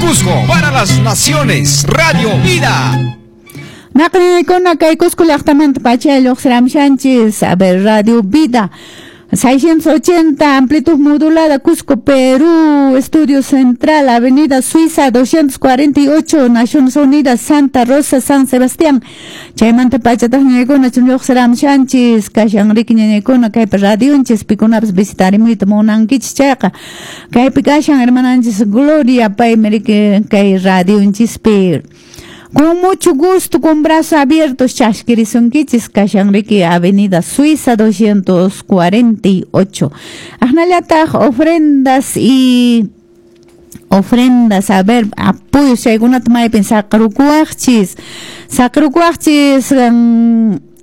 Cusco para las naciones. Radio Vida. Naqriykuna kay Cusco llaqtamanta pacha lluqsiramshanchis. A ver, Radio Vida. 680, amplitud modulada, Cusco, Perú, Estudio Central, Avenida Suiza, 248, Naciones Unidas, Santa Rosa, San Sebastián. Chaymanta pachataq ñañaykuna lluqsiramshanchis, kashan riki ñañaykuna kaypi radionchis, pikunapas visitarimuyta munankichis chayqa. Kaypi kashan hermananchis Gloria, paymi riki kay radionchispi. Con mucho gusto, con brazos abiertos, chashkirisunkichis, kashan riki Avenida Suiza 248. Aqnallataq ofrendas y ofrendas, a ver, apoyos chaykunata maypin saqrukuwaqchis. Saqrukuwaqchis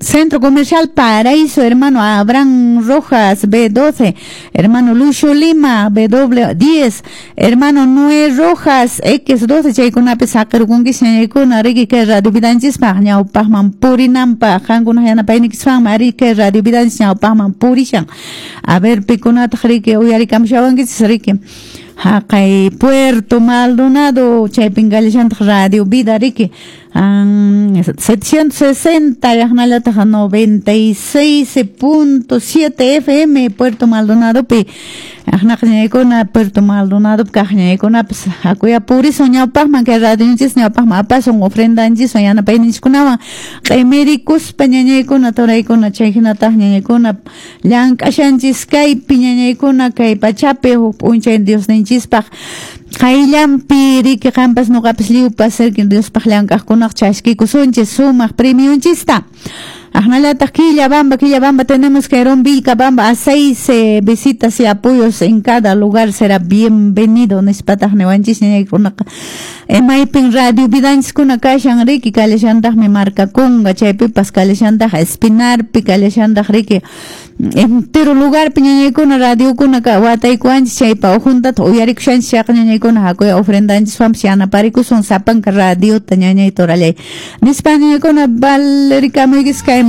Centro Comercial Paraíso, hermano Abraham Rojas, B12, hermano Lucio Lima, BW10, hermano Noé Rojas, X12, chaykunapi saqirkunkichis ñañaykuna, riki kay Radio Vidanchispaq ñawpaqman purinanpaq, qankuna yanapaynikispanmi ari kay Radio Vidanchis ñawpaqman purishan. A ver, pikunataq riki uyarikamshawankichis riki. Haqay Puerto Maldonado, chaypin kallashantaq Radio Vida riki. 760 yaqnallataq 96.7 FM Puerto Maldonadopi. Aqnaqa ñañaykuna Puerto Maldonadopi kaq ñañaykunapas hakuya purisun ñawpaqman kay radionchis ñawpaqman apasun ofrendanchiswan yanapayninchikkunawan q'imirikuspa ñañaykuna turaykuna chay hinataq ñañaykuna llank'ashanchis kaypi ñañaykuna kay pachapi huk p'unchay Diosninchispaq qayllanpi riki qampas nuqapas lliwpas riki Diospaq llank'aqkunaq chaskikusunchis sumaq premionchista. Aqnallataq Quillabamba, Quillabamba tenemos que Herón Vilcabamba a 6 visitas y apoyos en cada lugar será bienvenido nispataq niwanchis ñañaykunaqa. Maypin Radio Vidanchiskuna kashan riki kallashantaqmi Marcaconga chaypipas kallashantaq Espinarpi kallashantaq riki entero lugarpi ñañaykuna radiokuna wataykuwanchis chaypa ujuntata uyarikushanchis chayqa ñañaykuna hakuya ofrendanchiswanpas yanaparikusun sapanka radiota ñañay torallay nispa ñañaykuna valerikamuykichis kaymanta.